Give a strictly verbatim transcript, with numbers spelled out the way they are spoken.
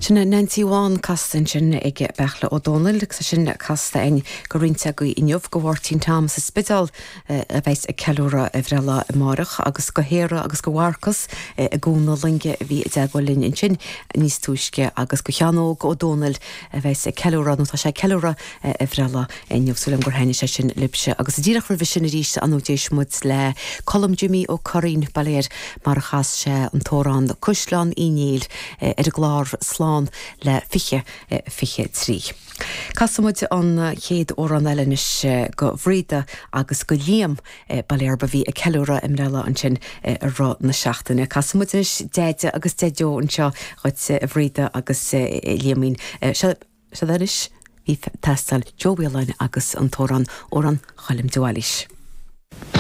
Sin Nancy Bhán casta ansin ag Beartla Ó Domhnaill agus sin casta againn do roinnt agaibh inniu go Mháirtín Tom sa Spidéal a bheas ag ceiliúradh a bhreithlá amárach agus go hÉire agus go Mharcas i gCuan na Loinge a bhí i dteagmháil linn ansin níos túisce agus go Sheán Óg Ó Domhnaill a bheas ag ceiliúradh nó tá sé ag ceiliúradh a bhreithlá inniu súil agam gur thaitnigh sé sin libhse agus díreach roimhe sin arís an d'éist muid le Colm Jimmy Ó Curraoin bail air mar a chas sé an t-amhrán Caisleán Uí Néill ar an gclár Slán le fiche fiche trí. Casfaimid an chéad amhrán eile anois go Bhríde agus go Liam bail orthu a bhí ag ceiliúradh a mbreithlá ansin i rith na seachtaine. Casfaimid anois Deaide agus Deaideo anseo dhuit a Bhríde agus Liamín seo anois bhí ag teastáil Joe Whelan agus an t-amhrán Amhrán Choilm de Bhailís.